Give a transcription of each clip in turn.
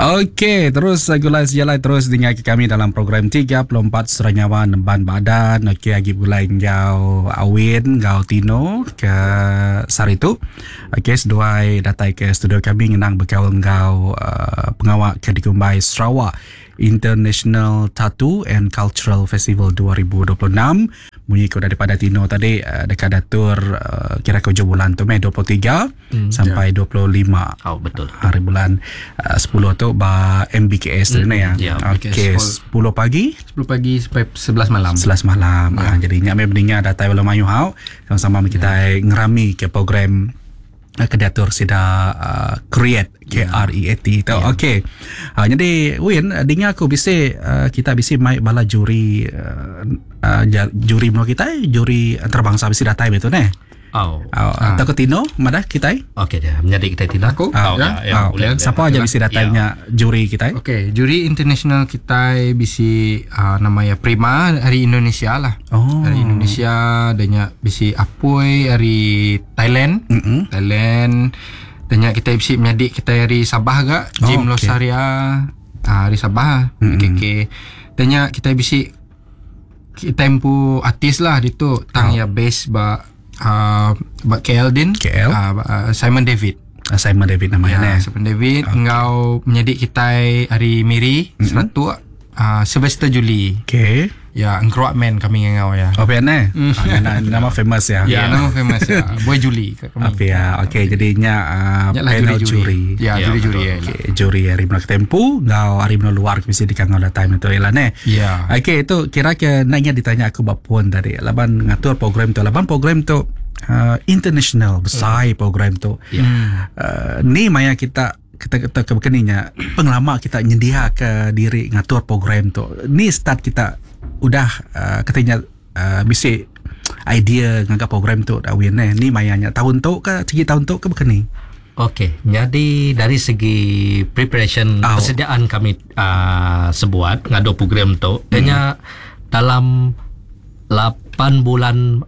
Okey, terus gulai sejalai terus dinga ke kami dalam program 34 Sera Nyawa Nemban Badan. Okey, agi begulai enggau Awin enggau Tino ke sehari tu. Okey, seduai datai ke studio kami ngenang bekaul enggau uh, pengawa ke dikumbai Sarawak International Tattoo and Cultural Festival 2026. Munyi ke udah dipadah Tino tadi uh, deka datur uh, kira ke ujung bulan tu meh 23 sampai yeah. 25. Oh betul. Hari bulan uh, 10 tu ba MBKS mm, ya. Ya, Okey, 10 pagi 10 pagi sampai 11 malam. 11 malam. Yeah. Ha, jadi nya meh meninggal datai bala mayuh hau sama-sama kita yeah. ngerami ke program eh, ke diatur sida uh, create K R E A T tu. Yeah. Okey. Uh, jadi Win dinga aku bisi uh, kita bisi mai bala juri uh, uh, juri menua kita juri antarabangsa bisi datai betul neh. Oh. Uh, atau ke Tino madah kita? Okey dia menyadi kita Tino. Aku? Oh, ya. ya, ya, Oh, boleh. Siapa aja bisi datai Ya. nya juri kita? Okey, juri international kita bisi uh, namanya Prima dari Indonesia lah. Oh. Dari Indonesia adanya bisi Apoy dari Thailand. Mm-mm. Thailand. Adanya kita bisi menyadik kita dari Sabah gak, Oh, Jim okey. Losaria ah dari Sabah. Mm-hmm. Okey okey. Adanya kita bisi kita empu artis lah ditu tang Oh. ya base ba uh, ba KL din. KL. Ah, ba, uh, Simon David. Ah, Simon David namanya Ya, neh. Simon David okay. Engau menyadik kita hari Miri mm-hmm. Seratuk uh, Sylvester Julie. Okey. Ya, engkeruak man kami ngau ya. Oh, pian eh? Ah, nama, nama famous ya. Ya, nama famous ya. Boy Julie kat kami. Apa ya? Okey, jadinya uh, Ya lah panel juri-juri. juri. Ya, Ya, juri-juri ya. Okey, juri hari Mena Tempu ngau hari Mena luar mesti dikangau dah time itu ialah neh. Ya. Okey, itu kira ke nanya ditanya aku bab pun tadi. Laban ngatur program tu, laban program tu uh, international besar program tu. Ya. Uh, ni maya kita kita kita kebekeninya pengelama kita nyendia ke diri ngatur program tu. Ni start kita udah uh, katanya uh, bisi idea ngangkat program tu dah win eh. Ni mayanya tahun tu ke segi tahun tu ke bekeni. Okey, jadi dari segi preparation Oh. persediaan kami uh, sebuat ngadu program tu, mm. dalam 8 bulan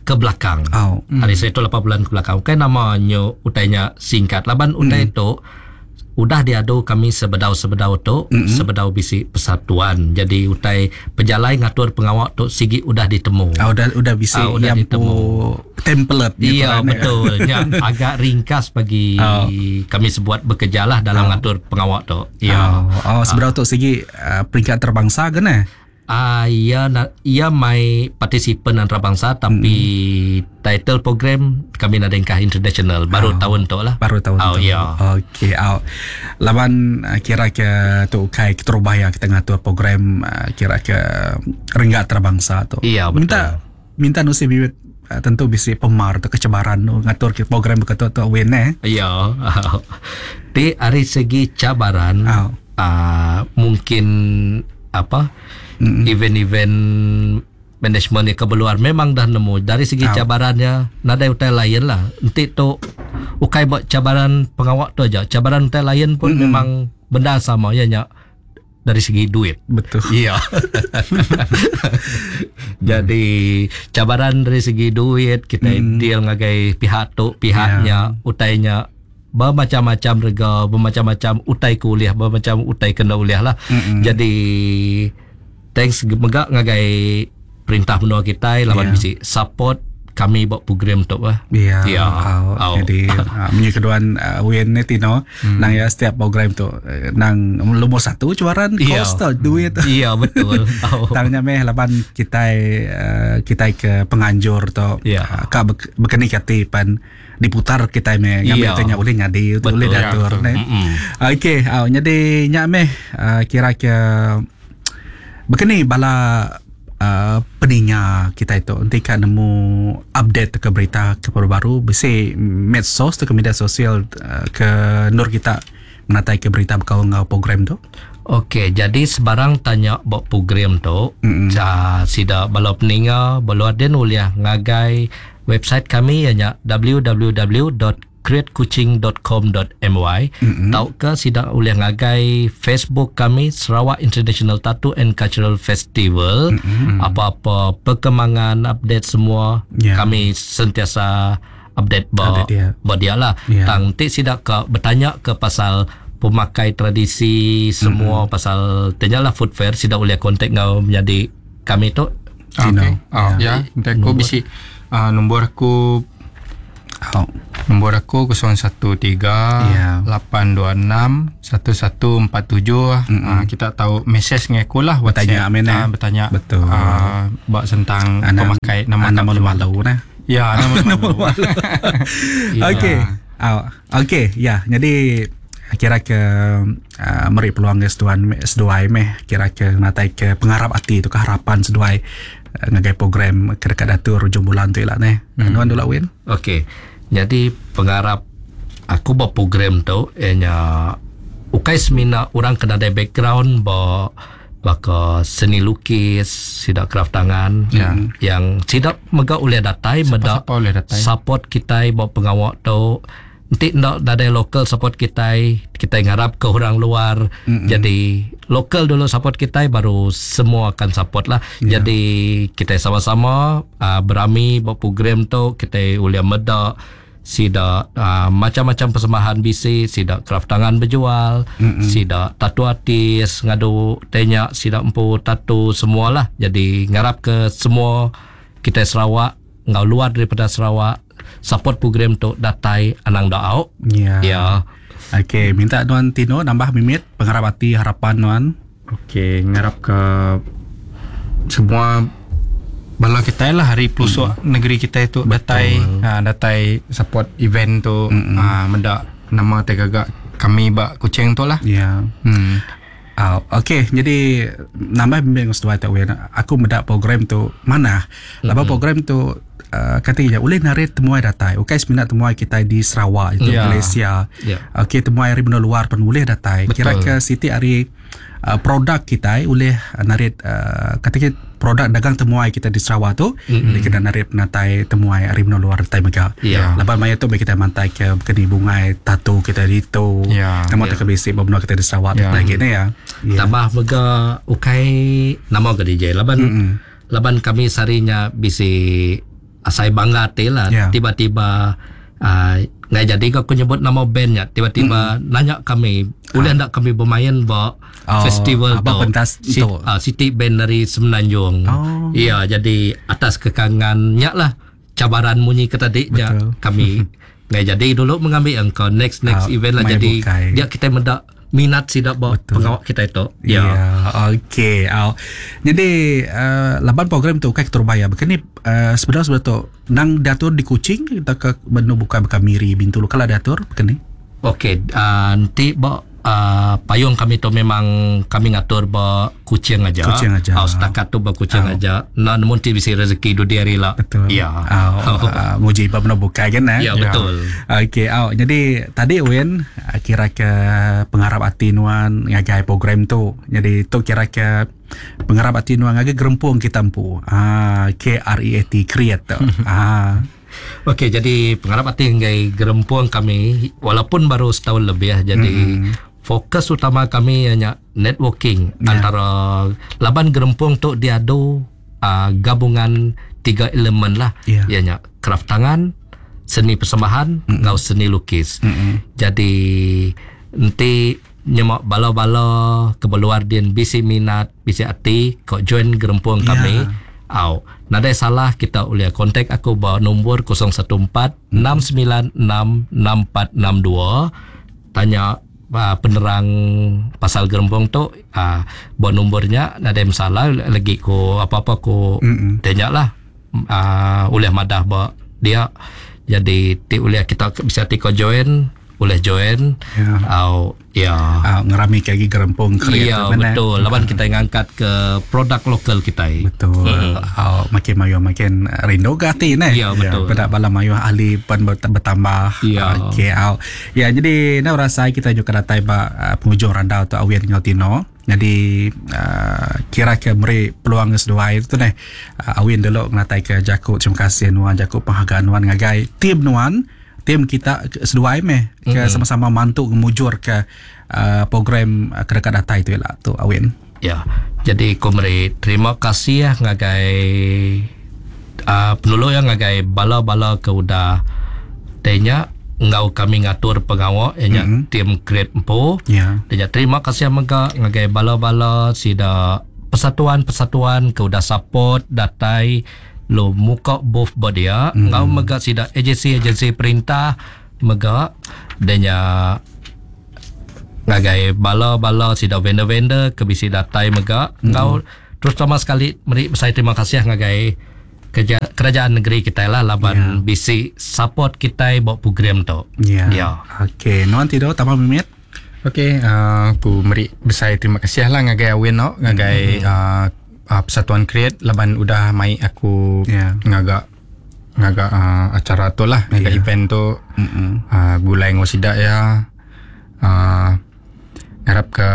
ke belakang. Oh. Hari saya tu 8 bulan ke belakang. Kan namanya utainya singkat. Laban utai tu udah diadu kami sebedau-sebedau tu, sebedau bisi persatuan. Jadi utai pejalai ngatur pengawak tu sigi udah ditemu. Ah, udah udah bisi Ah, udah yang ditemu. pu template gitu Iya kan, eh. betul. Ya, agak ringkas bagi Oh. kami sebuat bekerja lah dalam ngatur pengawak tu. Ya. Oh, oh seberapa tu segi uh, peringkat terbangsa ke ne? Ah ya na, ia mai partisipan antarabangsa tapi title program kami nadengkah international baru tahun tu lah. Baru tahun Oh tu. ya. Okey, oh. Laban kira ke tu kai keterubah kita ngatur program kira ke renggat terbangsa tu. Iya, betul. Minta minta nusi bibit tentu bisi pemar atau kecebaran nu ngatur ke program beketu tu win eh. Ya. Di hari segi cabaran Oh. ah, mungkin apa event-event management yang keluar memang dah nemu dari segi Oh. cabarannya nadai utai lain lah nanti tu ukai buat cabaran pengawak tu aja cabaran utai lain pun memang benda sama ya nya dari segi duit Betul. Iya. Jadi cabaran dari segi duit kita deal ngagai pihak tu, pihaknya, utainya bermacam-macam rega, bermacam-macam utai kuliah, bermacam utai kena uliah lah. Jadi thanks mega ngagai perintah menua kita lawan Yeah. bisi support kami buat program tu lah. Ya. Ya. Oh, Oh. Jadi uh, punya keduan uh, win ni Tino nang ya setiap program tu eh, nang lumur satu cabaran Ya. kos tu duit. Iya betul. Oh. Tangnya meh laban kita uh, kita ke penganjur tu Ya. uh, ka bekeni kati pan diputar kita meh ngambil Ya. tanya boleh nyadi Betul. boleh Ya, diatur betul. ne. Mm-mm. Okey, uh, jadi nyak meh uh, kira ke bekeni bala uh, peninga kita itu nanti kan nemu update ke berita ke baru-baru bisi medsos tu ke media sosial uh, ke nur kita menatai ke berita bekal ngau program tu. Okey, jadi sebarang tanya buat program tu, mm-hmm. sida bala peninga, bala aden uliah ngagai website kami ianya www.createkuching.com.my mm-hmm. tauka sida uliah ngagai Facebook kami Sarawak International Tattoo and Cultural Festival. Mm-hmm. Apa-apa perkembangan update semua Ya. kami sentiasa update ba Update dia. ba dia lah. Ya. Tang ti sida ke bertanya ke pasal pemakai tradisi semua pasal tanya lah food fair sida ulih kontak ngau menyadi kami tu. Tino. Okay. Oh, ya, nanti aku bisi nombor aku Nombor aku 013 826 1147. Kita tahu mesej dengan aku lah Bertanya, WhatsApp. amin, eh. Bertanya. Betul. Bak tentang pemakai nama nama malu-malu nah. Ya, nama malu. Okey. Okey, ya. Jadi kira ke meri peluang ke seduan seduai meh kira ke natai ke pengarap hati tu ke harapan seduai ngagai program ke dekat datur hujung bulan tu lah neh. Nuan dulu Win. Okey. Jadi pengarap aku buat program tu ianya ukai semina orang kena ada background ba baka seni lukis, sidak craft tangan yang sidak mega boleh datai meda Siapa boleh datai. support kita buat pengawak tu. Nanti ndak ada lokal support kita, kita ngarap ke orang luar. Jadi lokal dulu support kita baru semua akan support lah. Jadi kita sama-sama berami buat program tu, kita boleh medak sidak macam-macam persembahan bisi, sidak craft tangan berjual, sidak tattoo artis ngadu tenya, sidak empu tattoo semualah. Jadi ngarap ke semua kita Sarawak ngau luar daripada Sarawak support program tu datai anang daau. Ya. Ya. Okey, minta Nuan Tino nambah mimit pengarap hati harapan Nuan. Okey, ngarap ke semua bala kita lah hari pelusuk negeri kita itu datai datai support event tu mendak nama tegagak kami bak kucing tu lah. Ya. Okey, jadi nambah bimbing seduai tak wen. Aku mendak program tu mana? Lepas program tu katanya boleh narik temuai datai. Okey, seminat temuai kita di Sarawak itu Malaysia. Okey, temuai hari benua luar pun boleh datai. Kira ke siti hari produk kita boleh narik katakan produk dagang temuai kita di Sarawak tu dia kena narik penatai temuai hari benua luar datai mega. Lepas maya tu kita mantai ke keni bungai tato kita di tu. Nama tak kebisik benua kita di Sarawak lagi ni ya. Tambah mega ukai nama ke DJ laban laban kami sarinya bisi asai bangga te lah. Tiba-tiba nggak jadi aku nyebut nama bandnya tiba-tiba nanya kami boleh ndak kami bermain ba festival tu pentas tu City Band dari Semenanjung. Ya, jadi atas kekangannya lah cabaran munyi ke tadi nya kami nggak jadi dulu mengambil engkau next event lah. Jadi bukai. Dia kita mendak minat sidak ba pengawak kita itu. Ya. Okey. Jadi laban program tu kai terbaya. Bukan ni sebenarnya tu nang diatur di Kuching kita ke benu buka buka Miri Bintulu kalau diatur bukan ni. Okey, nanti ba payung kami tu memang kami ngatur ba Kuching aja. Kuching aja. Setakat tu ba Kuching aja. Nah, namun ti bisa rezeki du diari lah. Betul. Ya. Muji ba benu buka kan eh. Ya, betul. Okey, jadi tadi Win kira ke pengarap hati nuan ngagai program tu. Jadi tu kira ke pengarap hati nuan ngagai gerempung kita empu. KREAT create tu. Okey, jadi pengarap hati ngagai gerempung kami walaupun baru setahun lebih jadi fokus utama kami hanya networking antara laban gerempung tu diadu gabungan tiga elemen lah. Ianya craft tangan, seni persembahan, ngau seni lukis. Jadi nanti nyemak bala-bala kebeluar din bisi minat, bisi hati kau join gerempung kami. Nadai salah kita boleh kontak aku ba nombor 014 696 6462 tanya penerang pasal gerempung tu ba nombornya nadai masalah lagi ko apa-apa ko tanya lah oleh madah ba dia. Jadi ti boleh kita bisa ti ko join boleh join. Ngerami lagi gerempung kreatif. Ya, betul. Laban kita ngangkat ke produk lokal kita. Betul. Makin mayu makin rindu ke hati ne. Ya, betul. Pada bala mayu ahli pun bertambah. Ya. Okey. Ya, jadi nak rasa kita juga datai ba penghujung randau tu Awin dengan Tino. Jadi kira ke meri peluang seduai tu neh. Awin dulu ngatai ke Jakub terima kasih nuan Jakub penghargaan nuan ngagai tim nuan. Tim kita seduai meh ke sama-sama mantu ngemujur ke program kedekat data itu lah tu Awin. Ya. Jadi ku meri terima kasih ya ngagai penulu yang ngagai bala-bala ke udah tanya Enggau kami ngatur pengawa iya nya team Create empu. Dia nya terima kasih mega ngagai bala-bala sida persatuan-persatuan ke udah support datai lalu muka booth ba dia enggau mega sida agensi-agensi perintah mega dia nya ngagai bala-bala sida vendor-vendor ke bisi datai mega enggau terutama sekali meri besai terima kasih ngagai Kerja, kerajaan negeri kitai lah laban yeah. bisi support kitai ba program tu. Ya. Yeah. Yeah. Okey, nuan tidur tambah mimit. Okey, aku meri besai terima kasih lah ngagai Awin no, ngagai mm-hmm. Persatuan Create laban udah mai aku yeah. ngaga ngaga acara tu lah, ngaga yeah. event tu. Mm-hmm. Gulai ngau sida ya. Ngarap ke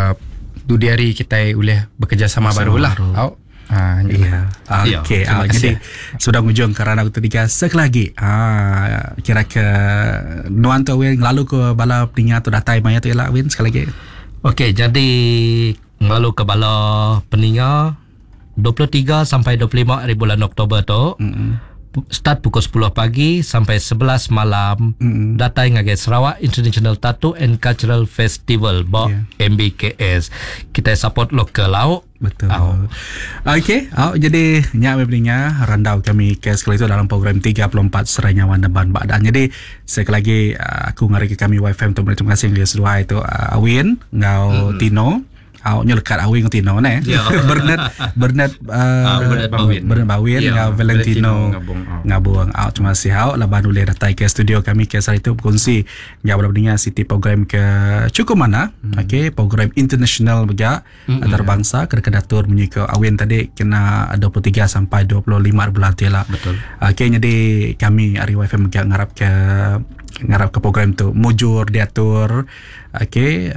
dudi hari kitai ulih bekerjasama baru lah. Au. Ha, ya. Okey, ya, jadi sudah ngujung ke ranau ketiga sekali lagi. Ha, kira ke nuan tu Win lalu ke bala peninga tu datai maya tu ialah Win sekali lagi. Okey, jadi lalu ke bala peninga 23 sampai 25 hari bulan Oktober tu. Mm-hmm. Start pukul 10 pagi sampai 11 malam mm-hmm. datai ngagai Sarawak International Tattoo and Cultural Festival ba yeah. MBKS. Kita support lokal lau. Betul. Oh. Okey, oh, jadi nyak peninga randau kami ke sekali itu dalam program 34 Serai Nyawa Neban Badan. Jadi sekali lagi aku ngari ke kami YFM untuk terima kasih kepada seduai itu Awin ngau mm-hmm. Tino. Au nya lekat Awin ngau Tino ne. Yeah. Bernard Bernard Bernard Bawin Bernard Bawin yeah. ngau Valentino Ngabung. Ngabung. Au terima kasih au laban ulih datai ke studio kami ke sehari tu berkongsi ngau bala peninga siti program ke cukup mana. Mm. Okey, program international mega mm-hmm. antarabangsa kena kedatur munyi ke Awin tadi kena 23 sampai 25 bulan tu lah. Betul. Okey, jadi kami ari YFM mega ngarap ke ngarap ke program tu mujur diatur. Okey,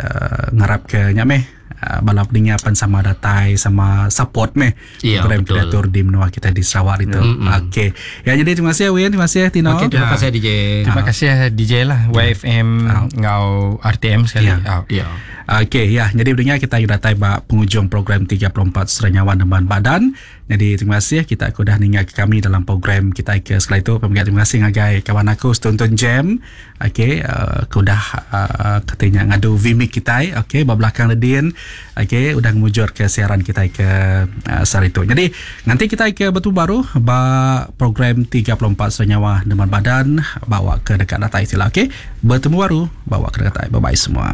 ngarap ke nya meh bala peninga pan sama datai sama support meh ya, program diatur di menua kita di Sarawak itu. Mm-hmm. Okey. Ya jadi terima kasih Win, terima kasih Tino. Okey, terima kasih DJ. Terima kasih DJ lah YFM ngau RTM sekali. Ya. Ya. Okey, ya. Jadi pendengar kita datai ba penghujung program 34 Serai Nyawa Neban Badan. Jadi terima kasih kita aku dah ninga ke kami dalam program kita ke sekali itu. Pemegat terima kasih ngagai kawan aku Tonton Jam. Okey, aku dah katanya ngadu Vmic kita. Okey, ba belakang ledin. Okey, udah ngemujur ke siaran kita ke sehari itu. Jadi nanti kita ke betul baru ba program 34 Serai Nyawa Neban Badan bawa ke dekat datai sila. Okey, bertemu baru bawa ke dekat. Bye bye semua.